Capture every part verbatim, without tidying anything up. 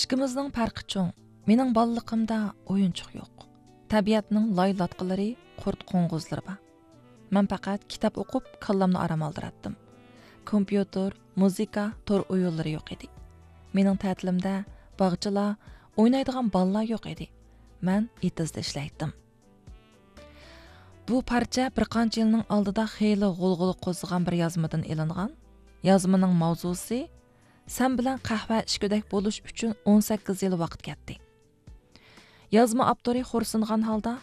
ئىككىمىزنىڭ پەرقى چوڭ. مېنىڭ بالىلىقىمدا ئويۇنچۇق يوق. تەبىئەتنىڭ لاي لاتقىلىرى، قۇرت قوڭغۇزلىرى بار. مەن پەقەت كىتاب ئوقۇپ، كاللامنى ئارام ئالدۇراتتىم. كومپيۇتېر، مۇزىكا، تور ئويۇنلىرى يوق ئىدى. مېنىڭ تەتىلىمدە باغچىلار، ئوينايدىغان بالىلار يوق ئىدى. مەن ئېتىزدا ئىشلەيتتىم. بۇ پارچە بىر قانچە يىلنىڭ ئالدىدا خېلى غۇلغۇلا قوزغىغان بىر يازمىدىن ئېلىنغان. يازمىنىڭ ماۋزۇسى، سەن بىلەن قەھۋە ئىچكۈدەك بولۇش ئۈچۈن ئون سەككىز يىل ۋاقىت كەتتى. يازما ئاپتورى خورسۇنغان ھالدا،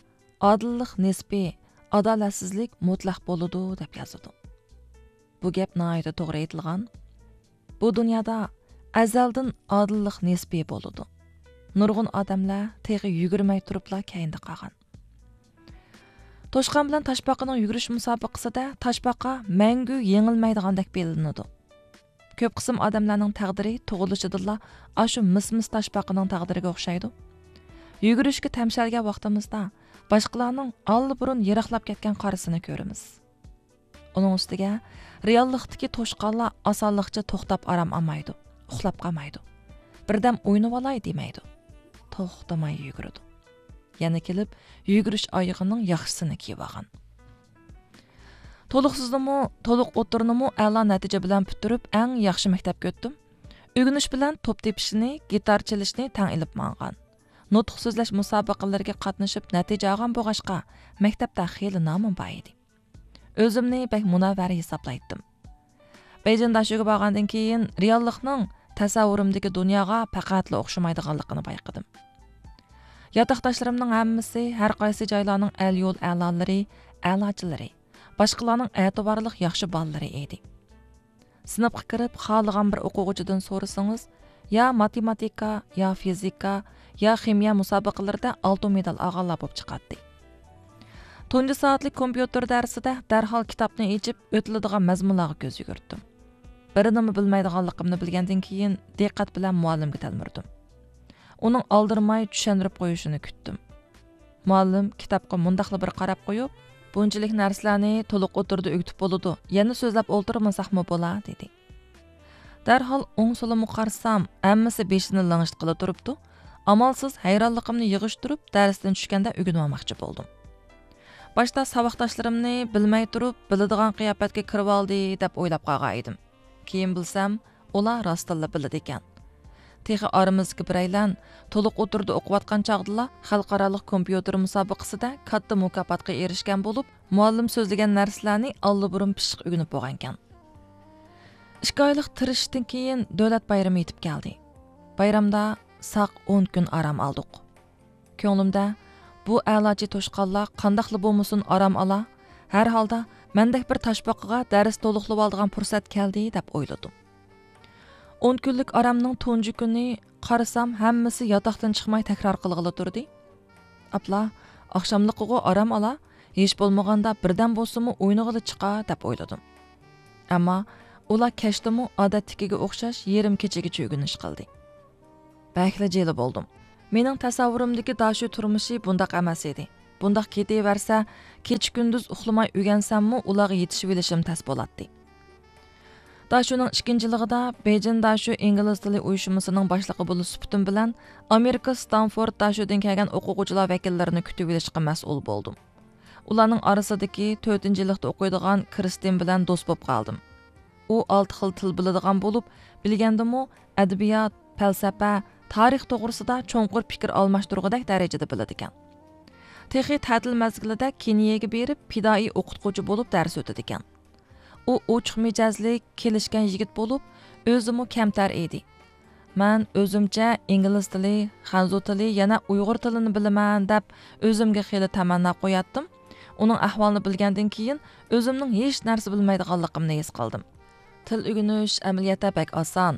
ئادىللىق نىسپىي، ئادالەتسىزلىك مۇتلەق بولىدۇ، دەپ يازىدۇ. بۇ گەپ ناھايىتى توغرا ئېيتىلغان. بۇ دۇنيادا ئەزەلدىن ئادىللىق نىسپىي بولىدۇ. نۇرغۇن ئادەملەر تېخى يۈگۈرمەي تۇرۇپلا كەينىدە قالغان. توشقان بىلەن تاشپاقىنىڭ يۈگۈرۈش مۇسابىقىسىدە تاشپاقا مەڭگۈ يېڭىلمەيدىغاندەك بىلىنىدۇ. كۆپ قىسىم ئادەملەرنىڭ تەقدىرى تۇغۇلۇشىدىنلا ئاشۇ مىس-مىس تاشپاقىنىڭ تەقدىرىگە ئوخشايدۇ. يۈگۈرۈشكە تەمشەلگەن ۋاقتىمىزدا باشقىلارنىڭ ئاللىبۇرۇن يىراقلاپ كەتكەن قارىسىنى كۆرىمىز. ئۇنىڭ ئۈستىگە رېئاللىقتىكى توشقانلار ئاسانلىقچە توختاپ ئارام ئالمايدۇ، ئۇخلاپ قالمايدۇ. بىردەم ئوينىۋالاي دېمەيدۇ. توختىماي يۈگۈرىدۇ. يەنە كېلىپ يۈگۈرۈش ئايىغىنىڭ ياخشىسىنى كىيىۋالغان. تولۇقسىزنىمۇ، تولۇق ئوتتۇرىنىمۇ ئەلا نەتىجە بىلەن پۈتتۈرۈپ، ئەڭ ياخشى مەكتەپكە ئۆتتۈم. ئۆگىنىش بىلەن توپ تېپىشنى، گىتار چېلىشنى تەڭ ئېلىپ ماڭغان. نۇتۇق سۆزلەش مۇسابىقىلىرىگە قاتنىشىپ نەتىجە ئالغان بولغاچقا، مەكتەپتە خېلى نامىم بار ئىدى. ئۆزۈمنى بەك مۇنەۋۋەر ھېسابلايتتىم. بېيجىڭ داشۆگە بارغاندىن كېيىن، رېئاللىقنىڭ تەسەۋۋۇرۇمدىكى دۇنياغا پەقەتلا ئوخشىمايدىغانلىقىنى بايقىدىم. ياتاقداشلىرىمنىڭ ھەممىسى ھەر قايسى جايلارنىڭ ئەل-يول ئەلالىرى، ئەلاچىلىرى، باشقىلارنىڭ ئەتىۋارلىق ياخشى بالىلىرى ئىدى. سىنىپقا كىرىپ، خالىغان بىر ئوقۇغۇچىدىن سورىسىڭىز، يا ماتېماتىكا، يا فىزىكا، يا خىمىيە مۇسابىقىلىرىدە ئالتۇن مېدال ئالغانلار بولۇپ چىقاتتى. تۇنجى سائەتلىك كومپيۇتېر دەرسىدە دەرھال كىتابنى ئېچىپ، ئۆتۈلىدىغان مەزمۇنلارغا كۆز يۈگۈرتتۈم. بىر نېمە بىلمەيدىغانلىقىمنى بىلگەندىن كېيىن، دىققەت بىلەن مۇئەللىمگە تەلمۈردۈم. ئۇنىڭ ئالدىرىماي چۈشەندۈرۈپ قويۇشىنى كۈتتۈم. مۇئەللىم كىتابقا مۇنداقلا بىر قاراپ قويۇپ، بۇنچىلىك نەرسىلەرنى تولۇق ئوتتۇرىدا ئۆگىتىپ بولىدۇ، يەنە سۆزلەپ ئولتۇرمىساقمۇ بولا، دېدى. دەرھال ئوڭ-سولۇمغا قارىسام، ھەممىسى بېشىنى لىڭشىتقىلى تۇرۇپتۇ. ئامالسىز ھەيرانلىقىمنى يىغىشتۇرۇپ، دەرستىن چۈشكەندە ئۆگىنىۋالماقچى بولدۇم. باشتا ساۋاقداشلىرىمنى بىلمەي تۇرۇپ، بىلىدىغان قىياپەتكە كىرىۋالدى، دەپ ئويلاپ قالغان ئىدىم. كېيىن بىلسەم، ئۇلار راستتىنلا بىلىدىكەن. تېخى ئارىمىزدىكى بىرەيلەن تولۇق ئوتتۇرىدا ئوقۇۋاتقان چاغدىلا خەلقئارالىق كومپيۇتېر مۇسابىقىسىدە كاتتا مۇكاپاتقا ئېرىشكەن بولۇپ، مۇئەللىم سۆزلىگەن نەرسىلەرنى ئاللىبۇرۇن پىششىق ئۆگىنىپ بولغانىكەن. ئىككى ئايلىق تىرىشىشتىن كېيىن دۆلەت بايرىمى يېتىپ كەلدى. بايرامدا ساق ئون كۈن ئارام ئالدۇق. كۆڭلۈمدە، بۇ ئەلاچى توشقانلار قانداقلا بولمىسۇن ئارام ئالا، ھەر ھالدا مەندەك بىر تاشپاقىغا دەرس تولۇقلىۋالىدىغان پۇرسەت كەلدى، دەپ ئويلىدىم. ئون كۈنلۈك ئارامنىڭ تۇنجى كۈنى قارىسام، ھەممىسى ياتاقتىن چىقماي تەكرار قىلغىلى تۇردى. ئاپلا، ئاخشاملىقىغۇ ئارام ئالا، ھېچ بولمىغاندا بىردەم بولسىمۇ ئوينىغىلى چىقا، دەپ ئويلىدىم. ئەمما ئۇلار كەچتىمۇ ئادەتتىكىگە ئوخشاش يېرىم كېچىگىچە ئۆگىنىش قىلدى. بەكلا جىلە بولدۇم. مېنىڭ تەسەۋۋۇرۇمدىكى داشۆ تۇرمۇشى بۇنداق ئەمەس ئىدى. بۇنداق كېتىۋەرسە، كېچە-كۈندۈز ئۇخلىماي ئۆگەنسەممۇ ئۇلارغا يېتىشىۋېلىشىم تەس بولاتتى. داشۆنىڭ ئىككىنچى يىلىغىدا بېيجىڭ داشۆ ئىنگلىز تىلى ئۇيۇشمىسىنىڭ باشلىقى بولۇش سۈپىتىم بىلەن ئامېرىكا ستانفورد داشۆدىن كەلگەن ئوقۇغۇچىلار ۋەكىللىرىنى كۈتۈۋېلىشقا مەسئۇل بولدۇم. ئۇلارنىڭ ئارىسىدىكى تۆتىنچى يىللىقتا ئوقۇيدىغان كىرىستىن بىلەن دوست بولۇپ قالدىم. ئۇ ئالتە خىل تىل بىلىدىغان بولۇپ، بىلگەندىمۇ ئەدەبىيات، پەلسەپە، تارىخ توغرىسىدا چوڭقۇر پىكىر ئالماشتۇرغۇدەك دەرىجىدە بىلىدىكەن. تېخى تەتىل مەزگىلىدە كېنىيەگە بېرىپ، پىدائىي ئوقۇتقۇچى بولۇپ دەرس ئۆتىدىكەن. ئۇ ئوچۇق مىجەزلىك، كېلىشكەن يىگىت بولۇپ، ئۆزىمۇ كەمتەر ئىدى. مەن ئۆزۈمچە ئىنگلىز تىلى، خەنزۇ تىلى، يەنە ئۇيغۇر تىلىنى بىلىمەن دەپ ئۆزۈمگە خېلى تەمەننا قوياتتىم. ئۇنىڭ ئەھۋالىنى بىلگەندىن كېيىن ئۆزۈمنىڭ ھېچ نەرسە بىلمەيدىغانلىقىمنى ھېس قىلدىم. تىل ئۆگىنىش ئەمەلىيەتتە بەك ئاسان.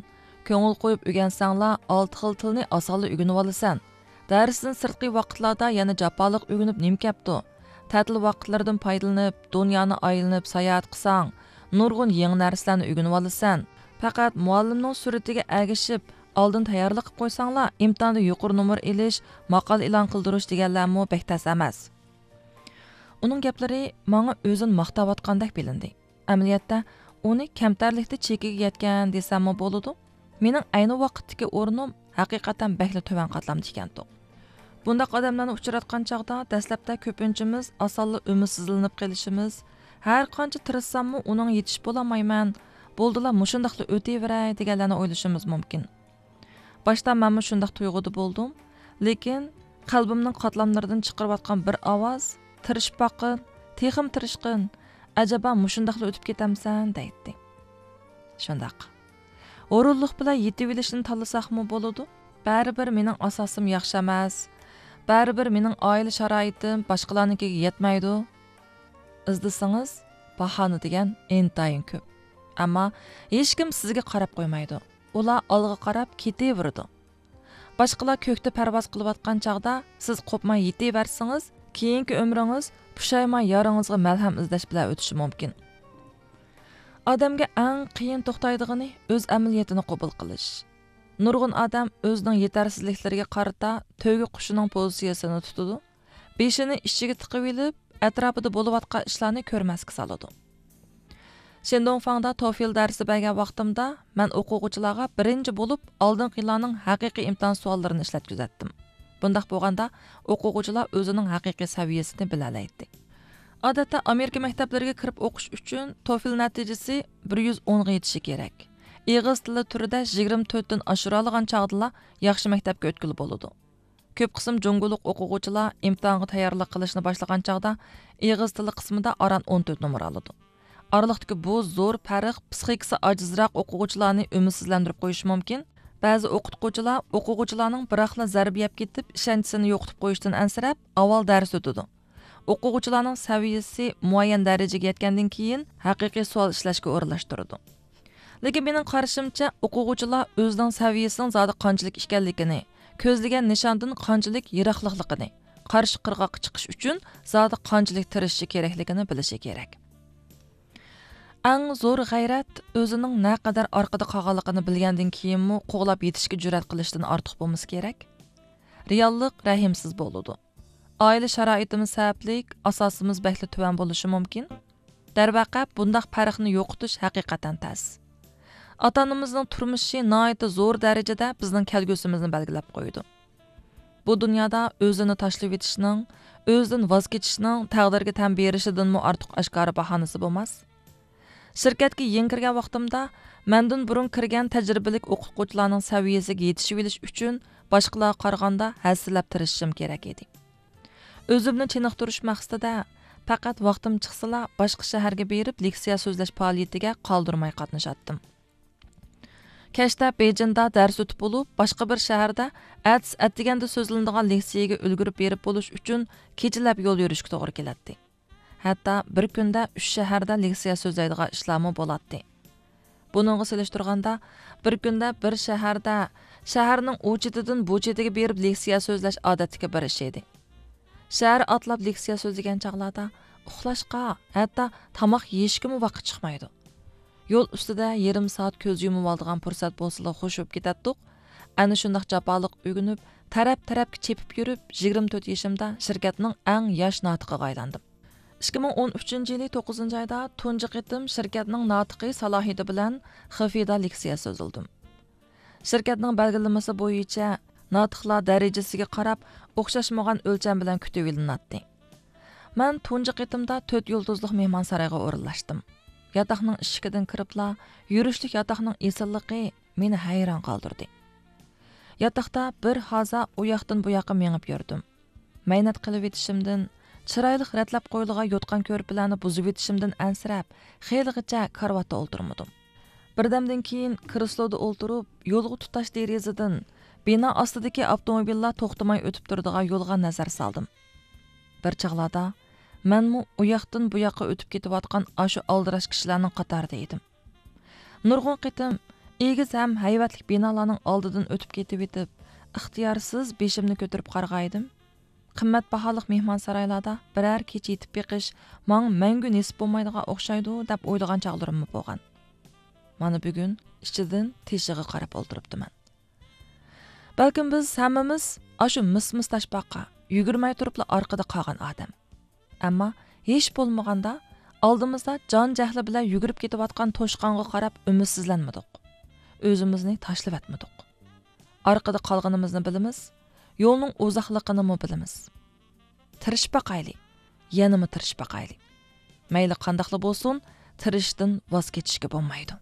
كۆڭۈل قويۇپ ئۆگەنسەڭلار، ئالتە خىل تىلنى ئاسانلا ئۆگىنىۋالىسەن. دەرستىن سىرتقى ۋاقىتلاردا يەنە جاپالىق ئۆگىنىپ نېمە كەپتۇ؟ تەتىل ۋاقىتلىرىدىن پايدىلىنىپ، دۇنيانى ئايلىنىپ ساياھەت قىلساڭ، نۇرغۇن يېڭى نەرسىلەرنى ئۆگىنىۋالىسەن. پەقەت مۇئەللىمنىڭ سۈرىتىگە ئەگىشىپ، ئالدىن تەييارلىق قىلىپ قويساڭلار، ئىمتىھاندا يۇقىرى نومۇر ئېلىش، ماقالە ئېلان قىلدۇرۇش دېگەنلەرمۇ بەك تەس ئەمەس. ئۇنىڭ گەپلىرى ماڭا ئۆزىنى ماختاۋاتقاندەك بىلىندى. ئەمەلىيەتتە ئۇنى كەمتەرلىكتە چېكىگە يەتكەن دېسەممۇ بولىدۇ. مېنىڭ ئەينى ۋاقىتتىكى ئورنۇم ھەقىقەتەن بەكلا تۆۋەن قاتلامدا ئىكەنتۇق. بۇنداق ئادەملەرنى ئۇچراتقان چاغدا دەسلەپتە كۆپىنچىمىز ئاسانلا ئۈمىدسىزلىنىپ قېلىشىمىز، ھەر قانچە تىرىشساممۇ ئۇنىڭغا يېتىشىپ بولالمايمەن، بولدىلا مۇشۇنداقلا ئۆتۈۋېرەي دېگەنلەرنى ئويلىشىمىز مۇمكىن. باشتا مەنمۇ شۇنداق تۇيغۇدا بولدۇم، لېكىن قەلبىمنىڭ قاتلاملىرىدىن چىقىرىۋاتقان بىر ئاۋاز، تىرىشىپ باققىن، تېخىمۇ تىرىشقىن، ئەجەبا مۇشۇنداقلا ئۆتۈپ كېتەمسەن دەيتتى. شۇنداق. ھۇرۇنلۇق بىلەن يېتىۋېلىشنى تاللىساقمۇ بولىدۇ. بەرىبىر مېنىڭ ئاساسىم ياخشى ئەمەس. بەرىبىر مېنىڭ ئائىلە شارائىتىم باشقىلارنىڭكىگە يەتمەيدۇ. ئىزدىسىڭىز، باھانە دېگەن ئىنتايىن كۆپ. ئەمما ھېچكىم سىزگە قاراپ قويمايدۇ. ئۇلار ئالغا قاراپ كېتىۋېرىدۇ. باشقىلار كۆكتە پەرۋاز قىلىۋاتقان چاغدا سىز قوپماي يېتىۋەرسىڭىز، كېيىنكى ئۆمرىڭىز پۇشايمان يارىڭىزغا مەلھەم ئىزدەش بىلەن ئۆتۈشى مۇمكىن. ئادەمگە ئەڭ قىيىن توختايدىغىنى ئۆز ئەمەلىيىتىنى قوبۇل قىلىش. نۇرغۇن ئادەم ئۆزىنىڭ يېتەرسىزلىكلىرىگە قارىتا تۆگە قۇشىنىڭ پوزىتسىيىسىنى تۇتىدۇ. بېشىنى ئىچىگە تىقىۋېلىپ، ئەتراپىدا بولۇۋاتقان ئىشلارنى كۆرمەسكە سالىدۇ. شېندۇڭفاڭدا توفىل دەرسى بەرگەن ۋاقتىمدا، مەن ئوقۇغۇچىلارغا بىرىنچى بولۇپ ئالدىنقى يىللارنىڭ ھەقىقىي ئىمتىھان سوئاللىرىنى ئىشلەتكۈزەتتىم. بۇنداق بولغاندا، ئوقۇغۇچىلار ئۆزىنىڭ ھەقىقىي سەۋىيەسىنى بىلەلەيتتى. ئادەتتە ئامېرىكا مەكتەپلىرىگە كىرىپ ئوقۇش ئۈچۈن توفىل نەتىجىسى بىر يۈز ئونغا يېتىشى كېرەك. ئېغىز تىلى تۈرىدە يىگىرمە تۆتتىن ئاشۇرالىغان چاغدىلا ياخشى مەكتەپكە ئۆتكىلى بولىدۇ. كۆپ قىسىم جۇڭگولۇق ئوقۇغۇچىلار ئىمتىھانغا تەييارلىق قىلىشنى باشلىغان چاغدا ئېغىز تىلى قىسمىدا ئاران ئون تۆت نومۇر ئالىدۇ. ئارىلىقتىكى بۇ زور پەرق پسىخىكىسى ئاجىزراق ئوقۇغۇچىلارنى ئۈمىدسىزلەندۈرۈپ قويۇشى مۇمكىن. بەزى ئوقۇتقۇچىلار ئوقۇغۇچىلارنىڭ بىراقلا زەربە يەپ كېتىپ، ئىشەنچىسىنى يوقىتىپ قويۇشتىن ئەنسىرەپ، ئاۋۋال دەرس ئۆتىدۇ. ئوقۇغۇچىلارنىڭ سەۋىيىسى مۇئەييەن دەرىجىگە يەتكەندىن كېيىن، ھەقىقىي سوئال ئىشلەشكە ئورۇنلاشتۇرىدۇ. لېكىن مېنىڭ قارىشىمچە، ئوقۇغۇچىلار ئۆزىنىڭ سەۋىيىسىنىڭ زادى قانچىلىك ئىكەنلىكىنى، كۆزلىگەن نىشاندىن قانچىلىك يىراقلىقلىقىنى، قارشى قىرغاققا چىقىش ئۈچۈن زادى قانچىلىك تىرىشىشى كېرەكلىكىنى بىلىشى كېرەك. ئەڭ زور غەيرەت ئۆزىنىڭ نەقەدەر ئارقىدا قالغانلىقىنى بىلگەندىن كېيىنمۇ قوغلاپ يېتىشكە جۈرئەت قىلىشتىن ئارتۇق بولمىسا كېرەك. رېئاللىق رەھىمسىز بولىدۇ. ئائىلە شارائىتىمىز سەۋەبلىك ئاساسىمىز بەكلا تۆۋەن بولۇشى مۇمكىن. دەرۋەقە، بۇنداق پەرقنى يوقىتىش ھەقىقەتەن تەس. ئاتا-ئانىمىزنىڭ تۇرمۇشى ناھايىتى زور دەرىجىدە بىزنىڭ كەلگۈسىمىزنى بەلگىلەپ قويىدۇ. بۇ دۇنيادا ئۆزىنى تاشلىۋېتىشنىڭ، ئۆزىدىن ۋاز كېچىشنىڭ تەقدىرگە تەن بېرىشىدىنمۇ ئارتۇق ئاشكارا باھانىسى بولماس. شىركەتكە يېڭى كىرگەن ۋاقتىمدا، مەندىن بۇرۇن كىرگەن تەجرىبىلىك ئوقۇتقۇچىلارنىڭ سەۋىيەسىگە يېتىشىۋېلىش ئۈچۈن باشقىلارغا قارىغاندا ھەسسىلەپ تىرىشىشىم كېرەك ئىدى. ئۆزۈمنى چېنىقتۇرۇش مەقسىتىدە، پەقەت ۋاقتىم چىقسىلا، باشقا شەھەرگە بېرىپ لېكسىيە سۆزلەش پائالىيىتىگە قالدۇرماي قاتنىشاتتىم. كەچتە بېيجىڭدا دەرس ئۆتۈپ بولۇپ، باشقا بىر شەھەردە ئەتىسى ئەتىگەندە سۆزلىنىدىغان لېكسىيەگە ئۈلگۈرۈپ بېرىپ بولۇش ئۈچۈن كېچىلەپ يول يۈرۈشكە توغرا كېلەتتى. ھەتتا بىر كۈندە ئۈچ شەھەردە لېكسىيە سۆزلەيدىغان ئىشلارمۇ بولاتتى. بۇنىڭغا سېلىشتۇرغاندا، بىر كۈندە بىر شەھەردە، شەھەرنىڭ ئۇ چېتىدىن بۇ چېتىگە بېرىپ لېكسىيە سۆزلەش ئادەتتىكى بىر ئىش ئىدى. شەھەر ئاتلاپ لېكسىيە سۆزلىگەن چاغلاردا ئۇخلاشقا، ھەتتا تاماق يېيىشكىمۇ ۋاقىت چىقمايدۇ. يول ئۈستىدە يېرىم سائەت كۆز يۇمۇۋالىدىغان پۇرسەت بولسىلا خوش بولۇپ كېتەتتۇق. ئەنە شۇنداق جاپالىق ئۆگىنىپ، تەرەپ-تەرەپكە چېپىپ يۈرۈپ، يىگىرمە تۆت يېشىمدا شىركەتنىڭ ئەڭ ياش ناتىقىغا ئايلاندىم. ئىككى مىڭ ئون ئۈچىنچى يىلى توققۇزىنچى ئايدا تۇنجى قېتىم شىركەتنىڭ ناتىقى سالاھىيىتى بىلەن خېفېدا لېكسىيە سۆزلىدىم. شىركەتنىڭ بەلگىلىمىسى بويىچە ناتىقلار دەرىجىسىگە قاراپ ئوخشاشمىغان ئۆلچەم بىلەن كۈتۈۋېلىناتتى. مەن تۇنجى قېتىمدا تۆت يۇلتۇزلۇق مېھمانسارايغا ئورۇنلاشتىم. ياتاقنىڭ ئىشىكىدىن كىرىپلا يۈرۈشلۈك ياتاقنىڭ ئېسىللىقى مېنى ھەيران قالدۇردى. ياتاقتا بىر ھازا ئۇ ياقتىن بۇ ياققا مېڭىپ يۈردۈم. مەينەت قىلىۋېتىشىمدىن، چىرايلىق رەتلەپ قويۇلغان يوتقان-كۆرپىلەرنى بۇزۇۋېتىشىمدىن ئەنسىرەپ، خېلىغىچە كارىۋاتتا ئولتۇرمىدىم. بىردەمدىن كېيىن كرېسلودا ئولتۇرۇپ، يولغا تۇتاش دېرىزىدىن بىنا ئاستىدىكى ئاپتوموبىللار توختىماي ئۆتۈپ تۇرىدىغان يولغا نەزەر سالدىم. بىر چاغلاردا مەنمۇ ئۇ ياقتىن بۇ ياققا ئۆتۈپ كېتىۋاتقان ئاشۇ ئالدىراش كىشىلەرنىڭ قاتارىدا ئېدىم. نۇرغۇن قېتىم ئېگىز ھەم ھەيۋەتلىك بىنالارنىڭ ئالدىدىن ئۆتۈپ كېتىۋېتىپ، ئىختىيارسىز بېشىمنى كۆتۈرۈپ قارىغانىدىم. قىممەت باھالىق مېھمانسارايلاردا بىرەر كېچە يېتىپ بېقىش ماڭا مەڭگۈ نېسىپ بولمايدىغان ئوخشايدۇ دەپ ئويلىغان چاغلىرىممۇ بولغان. مانا بۈگۈن ئىچىدىن تېشىغا قاراپ ئولتۇرۇپتىمەن. بەلكىم بىز ھەممىمىز ئاشۇ مىس-مىس تاشپاققا، يۈگۈرمەي تۇرۇپلا ئارقىدا قالغان ئادەم. ئەمما ھېچ بولمىغاندا ئالدىمىزدا جان-جەھلى بىلەن يۈگۈرۈپ كېتىۋاتقان توشقانغا قاراپ ئۈمىدسىزلەنمىدۇق. ئۆزىمىزنى تاشلىۋەتمىدۇق. ئارقىدا قالغىنىمىزنى بىلىمىز، يولنىڭ ئۇزاقلىقىنىمۇ بىلىمىز. تىرىشىپ باقايلى، يەنىمۇ تىرىشىپ باقايلى. مەيلى قانداقلا بولسۇن، تىرىشىشتىن ۋاز كېچىشكە بولمايدۇ.